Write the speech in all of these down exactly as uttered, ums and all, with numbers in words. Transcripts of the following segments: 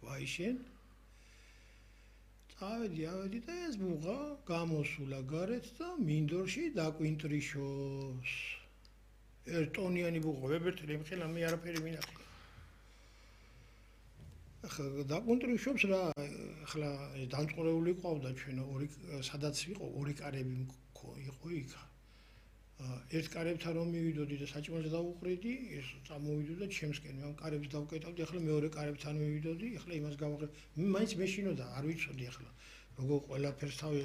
ვაი შენ წავედი ავედი და ეს ბუღა გამოსულა გარეთ და მინდორში დაკვინტრიშოს ერთონიანი ბუღა ვებერთელი მხელა მე არაფერი მინახე ახლა დაკვინტრიშობს რა ახლა დამწყურებული ყავდა ჩვენ ორი სადაც იყო ორი კარები იყო იქ ერთ კარებთან რომ მივიდოდი და საჭმელს დავუყრიდი ეს წამოვიდო და ჩემსკენ მე კარებს დავკეტავდი ახლა მეორე კარებთან მივიდოდი ახლა იმას გავაყრე მაინც მეშინოდა არ ვიცოდი ახლა როგორ ყველაფერს თავი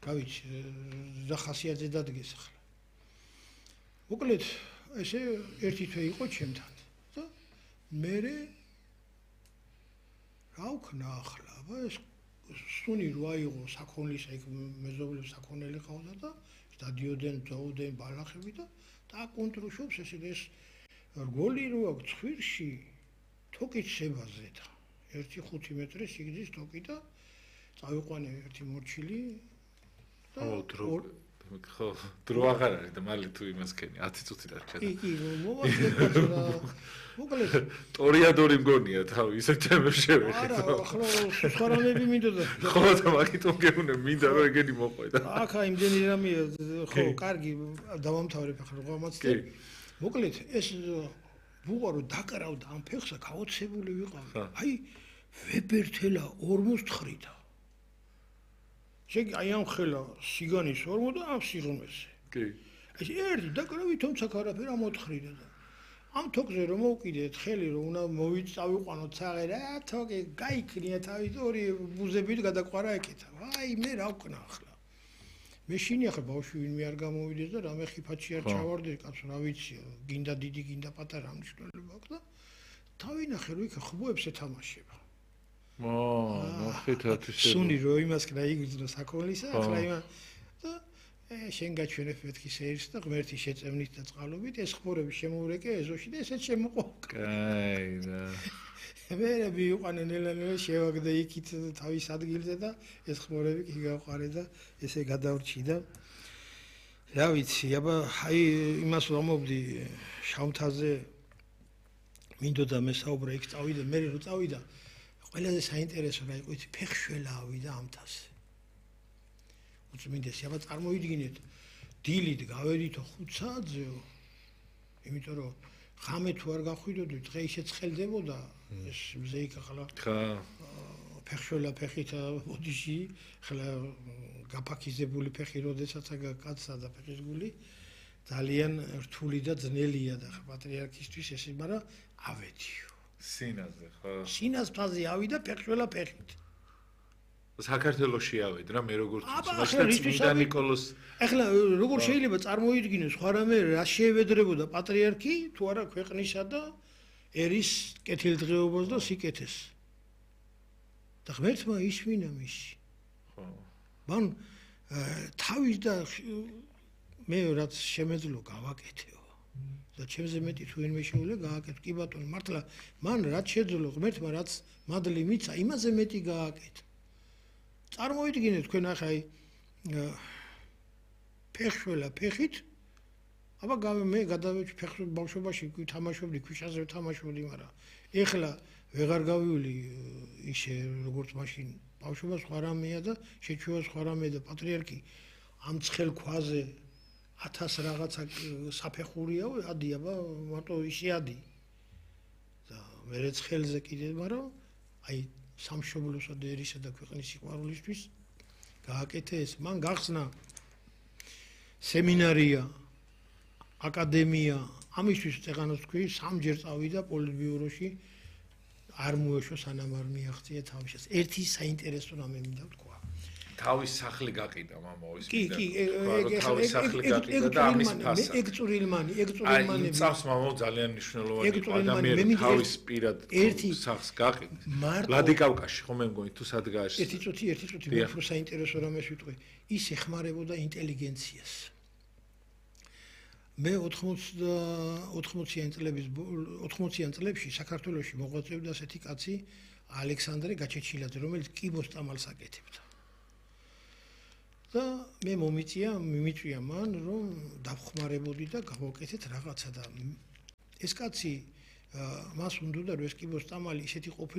გავიცი და ხასიათზე დადგეს ახლა მოკლედ ესე ერთი თვე იყო ჩემთან და მე რა ვქნა ახლა აბა ეს სუნი რო აიღო საქონლის ეგ მეზობლებს საქონელი ყავდა და დადიოდენ ძოვდნენ ბალახები და დაკონტროლშობს ესე ეს რგოლი რო აქვს ცხვირში თოკით შებაზე და ერთი ხუთი მეტრი სიგრძის თოკი და წავიყვანე ერთი მორჩილი და ხო დრო აღარ არის და მალე თუ იმას ქენი ათი წუთი დარჩა კი კი მოვასწრებ რა მოკლედ ტორიადორი მგონია თავი ისე თემებს შევეხე არა ახლა სხვარამები მინდოდა ხო და მაგიტომ გეუბნე მინდა რომ ეგენი მოყვე და აქა იმდენი რამეა ხო კარგი დავამთავრებ ახლა რომელმაც და მოკლედ ეს ბუღა რო დაკრავდა ამ ფეხსა გაოცებული ვიყავი აი ვებერთელა ორმოცდათხი შეგი აი ამ ხელა სიგანის ორმო და ამ სიღრმეზე. კი. ეს ერთი დაკრავი თუმცა არაფერი ამოთხრიდა და ამ თოკზე რომ მოვკიდეთ ხელი რომ უნდა მოვიწავიყვანოთ ცაღე რა თოკი გაიქნია თავის ორი ბუზებით გადაყვარა ეკეთა. აი მე რა ვკნა ახლა. მე შინი ახლა ბავშვი ვინმე არ გამოვიდეს და რამე ხიფათში არ ჩავარდე კაცო რა ვიცი გინდა დიდი გინდა პატარა მნიშვნელობა აქვს და თავი ნახე რომ იქ ხბოებს ეთამაშება. ო, ნახეთ ისე. სუნი რო იმას კნა იგრძნო საქონლისა, ახლა იმა და შენ გაჩვენებ მეთქი სეირს და ღმერთი შეწევნით და წყალობით ეს ხბორები შემოვრეკე ეზოში და ესეც შემოყო. კაი და მე მივიყვანე ნელა-ნელა შევაგდე იქით თავის ადგილზე და ეს ხბორები კი გავყარე და ესე გადავრჩი და რა ვიცი, აბა აი იმას ვამობდი შავთაზე მინდოდა მესაუბრა იქ წავიდე, მე რო წავიდა ყველაზე საინტერესო რა იყო იცი ფეხშველა ავიდა ამთაზე. უწმინდესი, აბა წარმოვიდგინეთ, დილით გავედითო ხუთ საათზეო, იმიტომ რომ ხამე თუ არ გახვიდოდი, დღე ისე ცხელდებოდა ეს მზე იქ ახლა. ხა ფეხშველა ფეხით ოდიში, ახლა გაფაქიზებული ფეხი როდესაც კაცსა და ფეხის გული ძალიან რთული და ძნელია და პატრიარქისთვის ესე, მაგრამ ავედიო. სინაზე ხო სინას ფაზე ავიდა ფეხშველა ფეხით საქართველოში ავედ რა მე როგორც მაშინ წმინდა ნიკოლოს ახლა როგორ შეიძლება წარმოიდგინოს სხვა რამე რა შეევედრებოდა პატრიარქი თუ არა ქვეყნისა და ერის კეთილდღეობას და სიკეთეს და ღმერთმა ისმინა მისი ხო მან თავის და მე რაც შემეძლო გავაკეთეო და ჩემზე მეტი თუ ვინმე შეუძლია გააკეთო კი ბატონო მართლა მან რაც შეძლო ღმერთმა რაც მადლი მიცა იმაზე მეტი გააკეთო წარმოვიდგინეთ თქვენ ახლა აი ფეხშველა ფეხით აბა მე გადავეჭი ფეხს ბავშვობაში თამაშობდი ქვიშაზე თამაშობდი მაგრამ ეხლა ვეღარ გავივლი ისე როგორც მაშინ ბავშვობა სხვა რამეა და შეჩვევა სხვა რამეა და პატრიარქი ამ ცხელ ქვაზე ათას რაღაცა საფეხურია ადი აბა მარტო ისე ადი და მე ცხელზე კიდე მაგრამ აი სამშობლოსა და ერისა და ქვეყნის სიყვარულისთვის გააკეთე ეს მან გახსნა სემინარია აკადემია ამისთვის წეღანოს თქვი სამჯერ წავიდა პოლიტბიუროში არ მოეშო სანამ არ მიაღწია თავისას ერთი საინტერესო რამე მინდა ვთქვა თავის სახლი გაყიდა მამაოს კი კი თავის სახლი გაყიდა და ამის ფასა ეგ წვრილმანი ეგ წვრილმანი აი წავს მამაო ძალიან მნიშვნელოვანი ადამიანი თავის პირად სახლს გაყიდა ვლადიკავკაში ხომ მე მგონი თუ სად გააშ ერთი წუთი ერთი წუთი მე უფრო საინტერესო რამეს ვიტყვი ის ეხმარებოდა ინტელიგენციას მე ოთხმოციან წლების ოთხმოციან წლებში საქართველოში მოღვაწეობდა ასეთი კაცი ალექსანდრე გაჩეჩილაძე რომელიც კიბოს წამალს აკეთებდა და მე მომიწია მიმიწვია მან რომ დავხმარებოდი და გავაკეთეთ რაღაცა და ეს კაცი მას უნდოდა რომ ეს კიბოს წამალი ისეთი ყოფილიყო